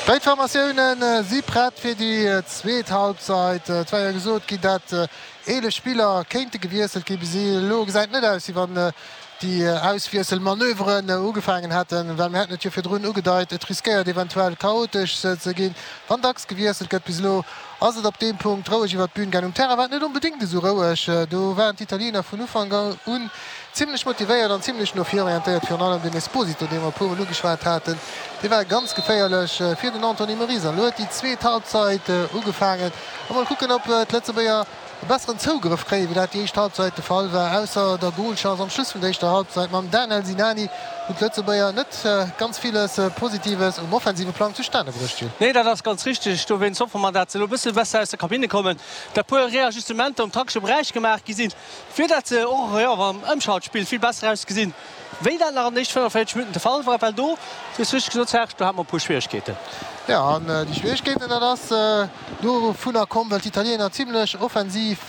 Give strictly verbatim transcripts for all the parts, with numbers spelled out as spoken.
Béid Formatioune si prett fir déi zweet Halbzeit. Et war jo gesot ginn, dat eelef Spiller kéinte gewiesselt ginn. Bis elo gesäit et net aus, wéi wann déi Auswiesselmanöveren ugefaangen hätten, well mir haten et jo virdrun ugedeit, et riskéiert eventuell chaotesch ze ginn, wann dacks gewiesselt gëtt. Bis elo ass et op deem Punkt roueg iwwer d'Bün gaangen. Um Terrain war et net onbedéngt esou roueg. Do waren d'Italiener vun Ufank un zimlech motivéiert an zimlech no vir orientéiert. Virun allem den Esposito, dee mer e puer Mol ugeschwat haten, dee war ganz geféierlech fir den Anthony Moris. An elo huet déi zweet Halbzeit ugefaangen. A mol kucken, ob d'Lëtzebuerger e besseren Zougrëff kréien, wéi dat déi éischt Halbzeit de Fall war. Ausser der Golchance am Schluss vun der éischter Halbzeit mam Danel Sinani hunn d'Lëtzebuerger net ganz villes Positives um offensive Plang zustane bruecht, Gilles. Nee, dat ass ganz richteg. Dowéinst hoffe mer, dat se elo e bësse besser aus der Kabinne kommen, dat puer Reajustementer um taktesche Beräich gemaach gi sinn, fir dat se och, jo, am Ëmschaltspill vill besser ausgesinn, wéi dat nach an den éischte fënnefenvéierzeg Minutten de Fall war, well do, du hues richteg gesot, Serge, do hate mer e puer Schwieregkeeten. Jo, an déi Schwieregkeeten, dat ass dovunner komm, well d'Italiener zimlech offensiv,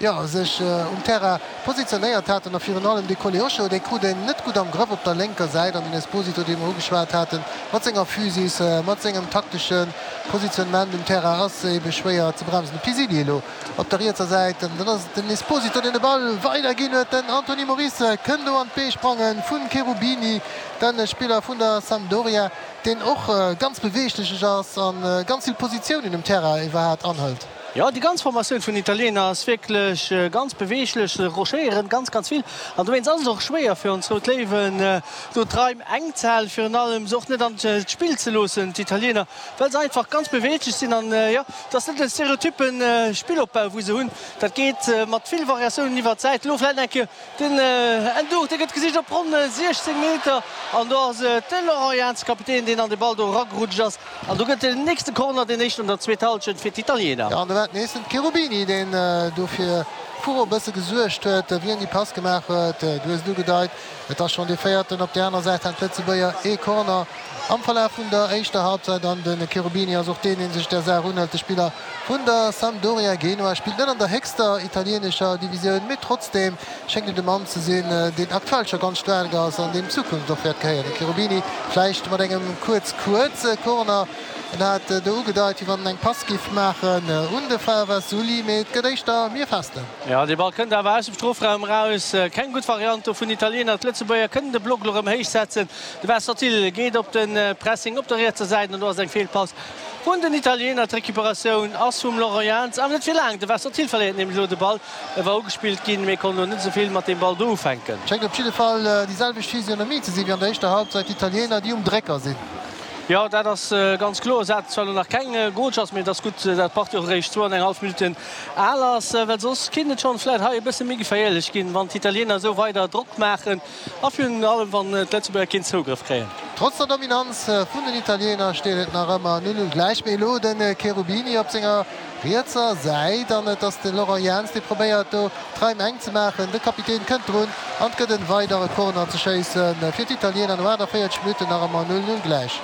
jo, sech um Terrain positionéiert haten a virun allem de Koleosho, dee krut een net gutt am Grëff op der lénker Säit an den Esposito, dee mer ugeschwat haten, mat senger Physis, mat sengem taktesche Positionnement um Terrain ass ebe schwéier ze bremsen. De Pisilli elo op der rietser Säit an dann ass et den Esposito, deen de Ball weiderginn huet. Den Anthony Moris kënnt do an d'Bee sprange vun Cherubini, de Spiller vun der Sampdoria. Deen och ganz beweeglech ass a ganz vill Positiounen um Terrain iwwerhaat anhëlt. Jo, déi ganz Formatioun vun den Italiener ass wierklech ganz beweeglech. Se rochéieren ganz, ganz vill an dowéinst ass et och schwéier fir ons Rout Léiwen, do d'Raim enk ze halen, virun allem se och net an d'Spill ze loossen, d'Italiener, well se einfach ganz beweeglech sinn. An jo, et ass net e stereotyppe Spillopbau, wou se hunn. Dat geet mat vill Variatiounen iwwert d'Säit. Elo vläicht eng Kéier Den Ndour, dee gëtt gesicht op ronn siechzéng Meter an do ass et de Laurent Jans, Kapitän, deen an de Ball do eragerutscht ass an do gëtt den nächste Corner, deen éischten an der zweeter Hallschent fir d'Italiener. Jo, an do war et nees den Cherubini, deen do fir Furore bësse gesuergt huet, wien déi Pass gemaach huet. Du hues et ugedeit, et ass schonn dee véierten. Op där aner Säit hat d'Lëtzebuerger ee Corner am Verlaf vun der éischter Halbzeit an de Cherubini ass och deen, dee sech där Saach unhëlt. De Spiller vun der Sampdoria Genua spillt net an der héchster italieenescher Divisioun, mee trotzdeem schéngt et e Mann ze sinn, deen aktuell scho ganz staark ass an deem d'Zukunft och wäert gehéieren. De Cherubini vläicht mat engem kuerz kuerze Corner. En hat do ugedeit, wéi wann en eng Pass giff maachen un de Favasuli, mee et gëtt éischter mir Festen. Jo, dee Ball kënnt awer aus dem Strofraum eraus. Keng gutt Variant do vun Italiener. D'Lëtzebuerger kënnen de Block elo erëm héich setzen. De Wassertil geet op de Pressing op der rietser Säit an do ass eng Feelpass vun den Italiener. D'Recuperatioun ass vum Laurent Jans, awer net fir laang. De Wassertil verléiert nämlech elo de Ball. E war ugespillt ginn, mee konnt elo net esou vill mat deem Ball do ufänken. Schéngt op jidde Fall déi selwecht Physionomie ze sinn wéi an der éischter Halbzeit. D'Italiener, déi um Drécker sinn. Jo, dat ass ganz kloer. Se haten zwar elo nach keng Golchance, mee et ass gutt, dat d'Partie och eréischt zwou an eng hallef Minutten al ass, well soss kinnt et schonn vläicht hei e bësse méi geféierlech ginn, wann d'Italiener esou weider Drock maachen a virun allem wann d'Lëtzebuerger keen Zougrëff kréien. Trotz der Dominanz vun den Italiener steet et nach ëmmer null null gläich. Mee elo de Cherubini op senger rietser Säit an et ass de Laurent Jans, dee probéiert do d'Raim enk ze maachen. De Kapitän kënnt drun an et gëtt en weidere Corner ze schéisse fir d'Italiener no aachtavéierzeg Minutten nach ëmmer null null gläich.